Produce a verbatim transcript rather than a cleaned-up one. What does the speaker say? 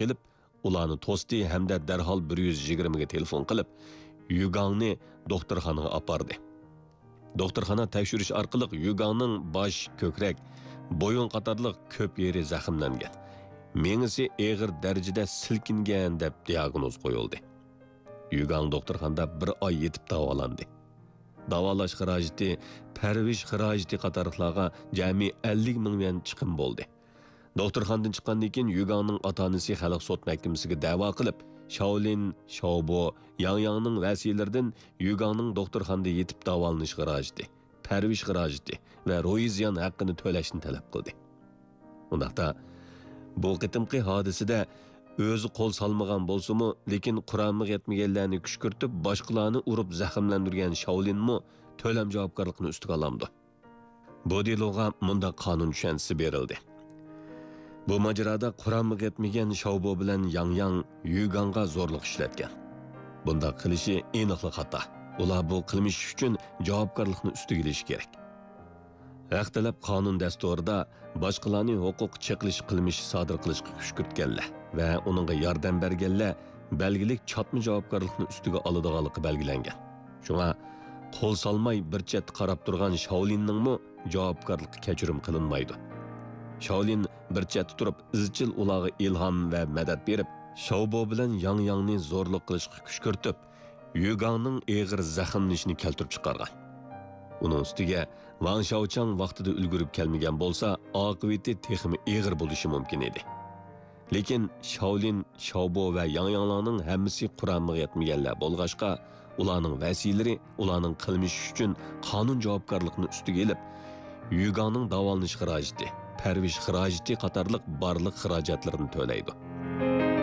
قېلىپ، ئۇلارنى توستى ھەمدە دەرھال بىر يۈز يىگىرمىگە تېلېفون قىلىپ، يۈگاڭنى دوختۇرخانىغا ئاپاردى. دوختۇرخانا تەكشۈرۈش ئارقىلىق يۈگاڭنىڭ باش، كۆكرەك، بويۇن قاتارلىق كۆپ يېرى زەخىملەنگەن، مېڭىسى ئېغىر دەرىجىدە سىلكىنگەن دەپ دىياگنوز قويۇلدى. يۈگاڭ دوختۇرخانىدا بىر ئاي يېتىپ داۋالاندى. داۋالاش خىراجىتى، پەرۋىش خىراجىتى قاتارلىقلارغا جەمئىي ئەللىك مىڭ يۈەن چىقىم بولدى. دوختۇرخانىدىن چىققاندىن كېيىن يۈگاڭنىڭ ئاتا-ئانىسى خەلق سوت مەھكىمىسىگە دەۋا قىلىپ، شاۋلىن، شاۋبو، ياڭياڭنىڭ ۋەسىيلىرىدىن يۈگاڭنىڭ دوختۇرخانىدا يېتىپ داۋالىنىش خىراجىتى، پەرۋىش خىراجىتى ۋە روھىي زىيان ھەققىنى تۆلەشنى تەلەپ قىلدى. ئۇنداقتا، بۇ قېتىمقى ھادىسىدە ئۆزى قول سالمىغان بولسىمۇ، لېكىن قۇرامىغا يەتمىگەنلەرنى كۈشكۈرتۈپ، باشقىلارنى ئۇرۇپ زەخىملەندۈرگەن شاۋلىنمۇ تۆلەم جاۋابكارلىقىنى ئۈستىگە ئالامدۇ؟ بۇ دېلوغا مۇنداق قانۇن چۈشەنچىسى بېرىلدى. بۇ ماجىرادا قۇرامىغا يەتمىگەن شاۋبو بىلەن ياڭياڭ يۈگاڭغا زورلۇق ئىشلەتكەن. بۇنداق قىلىشى ئېنىقلا خاتا. ئۇلار بۇ قىلمىش ئۈچۈن جاۋابكارلىقنى ئۈستىگە ئېلىشى كېرەك. ھەق تەلەپ قانۇن دەستۇرىدا باشقىلارنى ھوقۇق چېقىلىش قىلمىشى سادىر قىلىشقا كۈشكۈرتكەنلەر ۋە ئۇنىڭغا ياردەم بەرگەنلەر بەلگىلىك چاتما جاۋابكارلىقنى ئۈستىگە ئالىدىغانلىقى بەلگىلەنگەن. شۇڭا قول سالماي بىر چەتتە قاراپ تۇرغان شاۋلىننىڭمۇ جاۋابكارلىقى كەچۈرۈم قىلىنمايدۇ. شاۋلىن بىر چەتتە تۇرۇپ ئىزچىل ئۇلارغا ئىلھام ۋە مەدەت بېرىپ، شاۋبو بىلەن ياڭياڭنى زورلۇق قىلىشقا كۈشكۈرتۈپ، يۈگاڭنىڭ ئېغىر زەخىملىنىشىنى كەلتۈرۈپ چىقارغان. ئۇنىڭ ئۈستىگە ۋاڭ شاۋچاڭ ۋاقتىدا ئۈلگۈرۈپ كەلمىگەن بولسا، ئاقىۋىتى تېخىمۇ ئېغىر بولۇشى مۇمكىن ئىدى. لېكىن شاۋلىن، شاۋبو ۋە ياڭياڭلارنىڭ ھەممىسى قۇرامىغا يەتمىگەنلەر بولغاچقا، ئۇلارنىڭ ۋەسىيلىرى ئۇلارنىڭ قىلمىشى ئۈچۈن قانۇن جاۋابكارلىقىنى ئۈستىگە ئېلىپ، يۈگاڭنىڭ داۋالىنىش خىراجىتى، پەرۋىش خىراجىتى قاتارلىق بارلىق خىراجەتلىرىنى تۆلەيدۇ.